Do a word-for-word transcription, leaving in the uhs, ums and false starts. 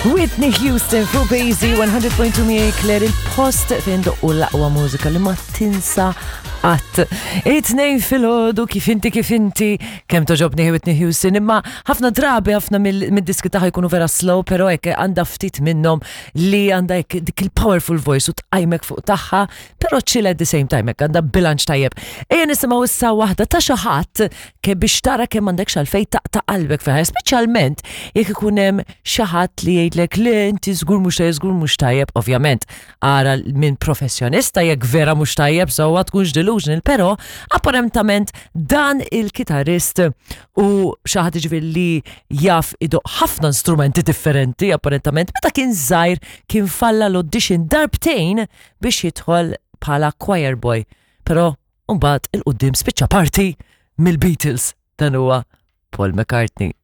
Whitney Houston fuq Bazy one hundred point two miegħi Claire, il-post fejn doqqu l-aqwa mużika li ma tinsa qatt. It-tnejn filgħodu, kif inti, kif inti, kemm togħġobni Whitney Houston, imma ħafna drabi ħafna mid-diski tagħha jkunu vera slow, però hekk għandha ftit minnhom li għandha hekk dik il-powerful voice u tqajmek fuq tagħha, però chill at the same time, hekk għandha bilanċ tajjeb. Ejja nisimgħu issa waħda ta' xi ħadd ke biex tara kemm m'għandekx għalfejn taqta' qalbek fiha, speċjalment jekk ikun hemm xi ħadd li jgħidlek li inti żgur mhux tajjeb, żgur mhux tajjeb, ovvjament ara minn professjonista jekk vera mhux tajjeb, sewwa, tkunx delusional, però apparentament dan il-kitarrist u xi ħadd ġifieri li jaf idoqq ħafna strumenti differenti, apparentament meta kien żgħir kien falla l-audition darbtejn biex jidħol bħala choir boy. Però mbagħad 'il quddiem spiċċa parti mill-Beatles. Dan huwa Paul McCartney.